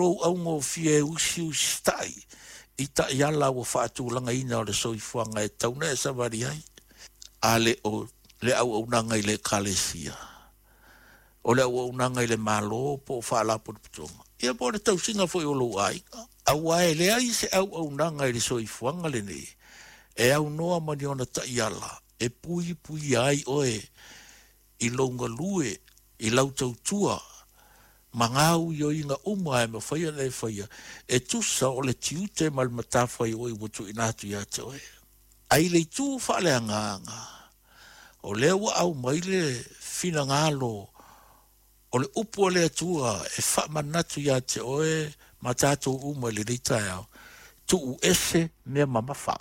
lou augofie e usiusitai i taiala ua faatulagaina o le soifuaga e tatau ona e savali ai, a le o le auaunaga i le Ekalesia, o le auaunaga i le Malo po o faalapotopotoga, ia po o le tausiga foi o lou aiga. Aua e leai se auaunaga i le soifuaga lenei e aunoa ma ni ona taiala e puipuia ai oe i lou galue, i lau tautua ma gaoioiga uma e mafai ona e faia e tusa o le tiute ma le matafaioi ua tuuina atu ia te oe. Ae i le itu faaleagaga, o lea ua aumai le finagalo o le upu a le Atua e faamanatu ia te oe ma tatou uma i lenei taeao, tuu ese mea mamafa,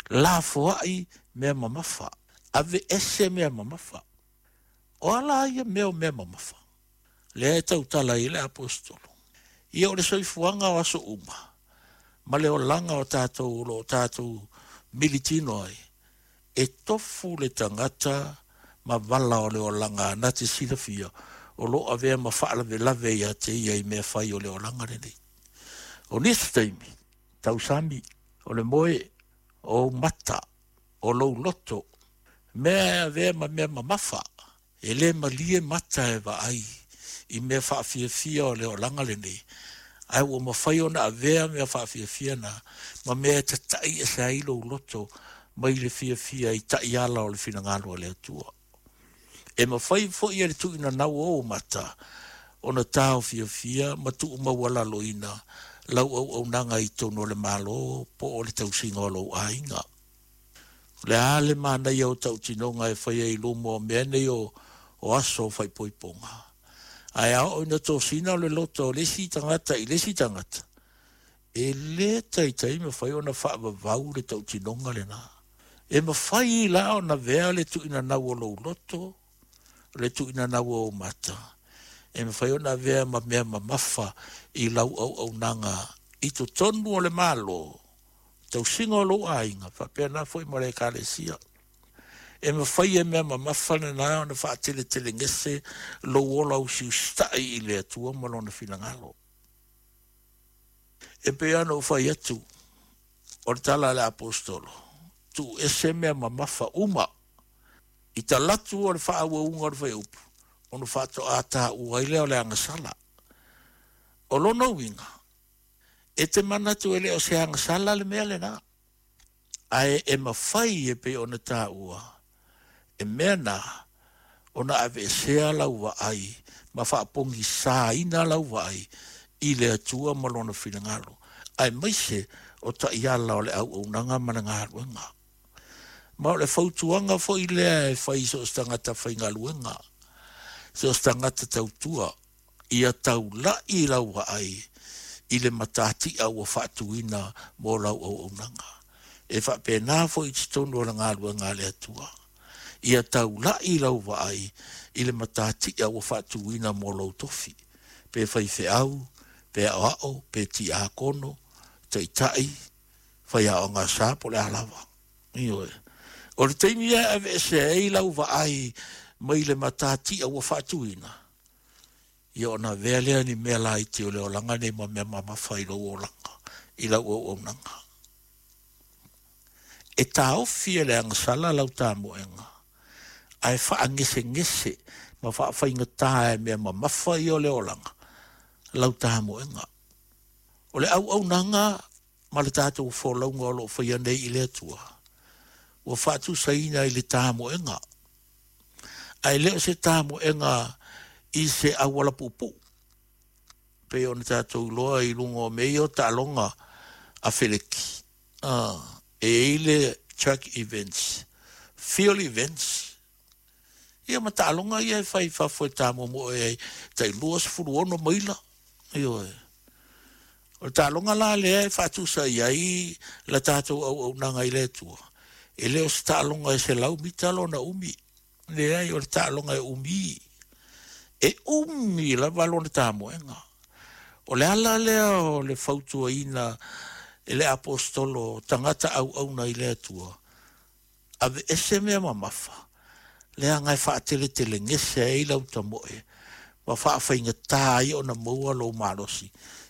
lafoai mea mamafa, aveese mea mamafa. O a la ia mea o mea mamafa? Lea e tautala ai le aposetolo. Ia o le soifuaga o aso uma, ma le olaga o tatou o lo o tatou militino ai, e tofu le tagata ma vala o le olaga na te silafia o lo o avea ma faalavelave ia te ia i mea fai o le olaga lenei. O nisi taimi, tausami, o le moe, o ou mata, o lou loto, mea e avea ma mea mamafa, e le malie mata e vaai i mea faafiafia o le olaga lenei, ae ua mafai ona avea mea faafiafia na ma mea e tata'i ese ai lou loto mai le fiafia i taiala o le finagalo o le Atua. E mafai foi e le tuuinanau o ou mata ona taofiofia ma tuumaualaloina lau auaunaga i totonu o le Malo po o le tausiga o lou aiga. O le a le manaia o tautinoga e faia i luma o mea nei o aso o faaipoipoga? Ae a oo ina tosina le loto o le isi tagata i le isi tagata, e le taitai mafai ona faavavau le tautinoga lena. E mafai la ona avea le tuuinanau o lou loto, le tuuinanau o ou mata, e mafai ona avea ma mea mamafa i lau auaunaga i totonu o le Malo, tausiga o lou aiga, faapena foi ma le Ekalesia. E mafai e mea mamafa lena ona faateletelegese lou ola usiusitai i le Atua ma Lona finagalo. E pei lava ona ou fai atu, o le tala a le Aposetolo, tuu ese mea mamafa uma i talatu o le faaauauga o le fuaiupu, ona faatoa taua ai lea o le agasala. O lona uiga, e te manatu e le o se agasala le mea lena, ae e mafai e pei ona taua, e mea na ona aveesea lau vaai ma faapogisaina lau vaai i le Atua ma Lona finagalo, aemaise o taiala o le auaunaga ma le galuega. Ma o le fautuaga foi lea e fai i so o se tagata faigaluega, so o se tagata tautua, ia taula'i lau vaai i le matatia ua faatuina mo lau auaunaga. E faapena foi i totonu o le galuega a le Atua. Ia taula'i lau vaai i le matatia ua faatuina mo lou tofi, pe faifeau, pe aoao, pe tiakono, taitai, faiaoga sa, po o le a lava. Ioe. O le taimi e aveese ai lau vaai mai le matatia ua faatuina, ia ona avea lea ni mea laiti o le olaga nei ma mea mamafa i lou olaga, i lau auaunaga. E taofi e le agasala lau tamoega, ae faagesegese ma faafaigata e mea mamafa ia o le olaga lau tamoega. O le auaunaga ma le tatou folauga o lo o faia nei i le Atua, ua faatusaina i le tamoega, ae le o se tamoega i se auala puupuu, pei ona tatou iloa i luga o mea ia o taaloga a feleki. E i ai le track events, field events, ia ma taaloga ia e fai i fafo e tamoemoe ai tai 26 maila. Ioe. O le taaloga la lea e faatusa i ai la tatou auaunaga i le Atua, e le o se taaloga e 100 mita lona umi. Leai, o le taaloga e umi. E umi lava lona tamoega. O le ala lea o le fautuaina e le aposetolo tagata auauna i le Atua, aveese mea mamafa, leaga e faateletelegese ai lau tamoe ma faafaigata ai ona maua lou malosi